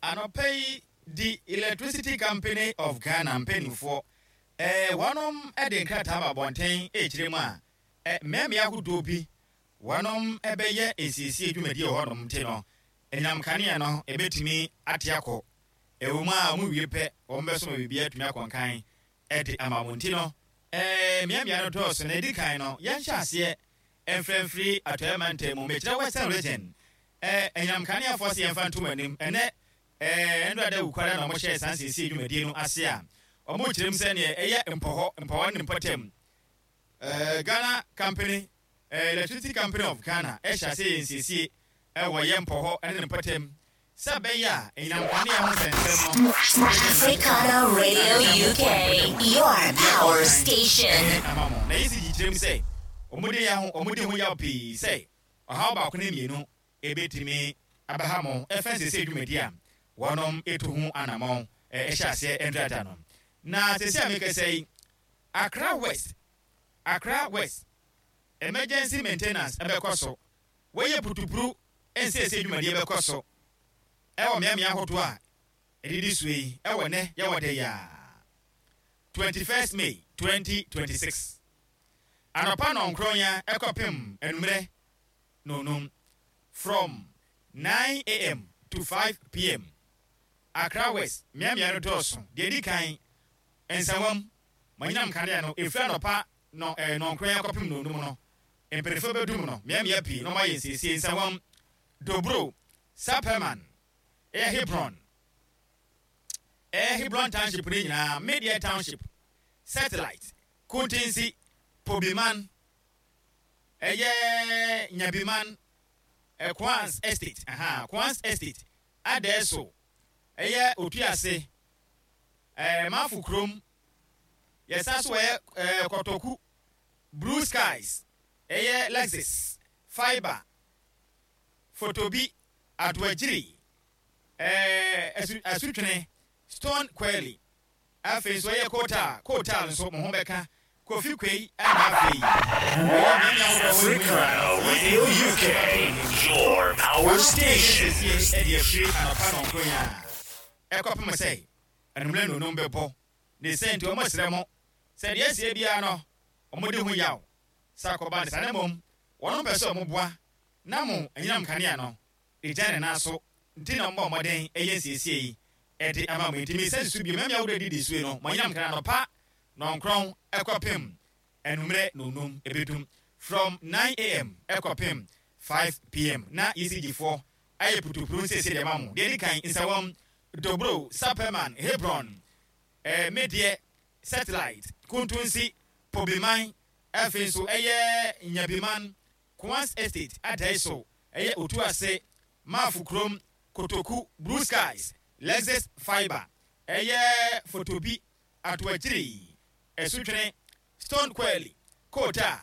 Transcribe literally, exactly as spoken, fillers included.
Anɔpa yi di Electricity Company of Ghana mpanimfoɔ ɛɛ wɔnom de nkrataa ba abɔnten ɛrekyerɛ mu a ɛ mmeammea ahodoɔ bi wɔnom bɛyɛ nsiesie dwumadie wɔ hɔnom, nti no anyinam kanea no ɛbɛtumi ate akɔ. Ɛwɔ mu a wɔn wie pɛ, wɔn bɛso ma biribi atumi akɔ nkan ɛde ama wɔn. Nti no ɛɛ mmeammea no dɔɔso. Na edi kan no, yɛnhyɛ aseɛ mfrɛmfiri Atɔeɛ Mantam mu, mekyerɛ Western Region. ɛɛ anyinam kaneafoɔ sɛ yɛmfa ntom anim ɛnɛ ɛɛ ndɔ ada wukwara na wɔhyɛ saa nsiesie dwumadie no ase a wɔn kyerɛ mu sɛ neɛ ɛyɛ Mpɔhɔ, Mpɔhɔ ne mpɔtam, ɛɛ Ghana Company, ɛɛ Electricity Company of Ghana ɛhyɛ ase yɛ nsiesie ɛwɔ yɛ Mpɔhɔ ɛne ne mpɔtam sɛ bɛyɛ a anyinam kanea ho nsɛnsɛm no Africana Radio U K, your power station. Ama mo na yɛsi gyikyerɛ mu sɛ wɔn de yɛ ho wɔn de ho yaw pii sɛ ɔhaw baako ne mmienu ebetumi abaha mo ɛfɛn siesie dwumadi a wɔnom etu ho anammɔn ɛhyɛ aseɛ ndrada no. Na siesie a mekasa yi, Accra West, Accra West emergency maintenance ɛbɛkɔ so. Wɔyɛ putupuru nsiesie dwumadie bɛkɔ so ɛwɔ mmeammea ahodoɔ a ɛdidi so yi ɛwɔ nɛ yɛwɔ de yaa twenty-first May twenty twenty-six, anɔpa nɔnkron ya ɛkɔpem anummerɛ nonum, from nine a m to five p m. Accra West mmeammea no dɔɔso. Deɛ di kan, Nsawam, manyinam kanea no efiri anɔpa nɔ ɛɛ nɔnkron ya kɔpem nonum no, mpanyinfoɔ bɛdum no mmeammea pii na wɔayɛ nsiesie. Nsawam, Dobro, Sapeiman, ɛyɛ Hebron, ɛyɛ Hebron Township ne nyinaa, Media Township, Satellite, Kuntinsi, Pobiman, ɛyɛ Nyabiman, Kwans Estate, aha, Kwans Estate, Adɛɛso, ɛyɛ Otuase, ɛɛ Mafo kurom, yɛsa so ɛyɛ ɛɛ Kɔtɔku, Blue Skies, ɛyɛ Lexus Fibre, Fotobi, Atoagyiri, ɛɛ asu Asutwene, Stone Quarry. Afei nso ɛyɛ Kota, Kotal nso mo ho bɛka Kofi Kwei. Ɛna afei ɛyɛ mmeammea ahodoɔ wɔ mu. Africana Radio U K, your power station. Siesie ɛde afiri anɔpa nɔnkron a ɛkɔpem sɛ anummerɛ nonum bɛbɔ ne sɛ. Nti wɔn srɛ mo sɛ deɛ asie biara no, wɔn de ho yaw sɛ akɔba ne saa, na mmom wɔn mpɛ sɛ wɔn boa na mo anyinam kanea no egya ne nan so, nti na wɔn bɔ mmɔden ɛyɛ nsiesie yi ɛde ama mo. Nti misa susu bio, mɛmia ahodoɔ didi so yi no, mo anyinam kanea anɔpa nɔnkron ɛkɔpem anummerɛ nonum ebedum, from nine a m ɛkɔpem five p m, na E C G foɔ ayɛ putupuru nsiesie deɛ ma mo. Deɛ di kan, Nsawam, Dobro, Sapeiman, Hebron, ɛɛ Medeɛ, Satellite, Kuntunsi, Pobiman, afei nso ɛyɛ Nyabiman, Kwans Estate, Adaiso, ɛyɛ Otuase, Maafo kurom, Kotoku, Blue Skies, Lexus Fibre, ɛyɛ Fotobi, Atoakyiri, Ɛsutwene, Stone Quarry, Kota.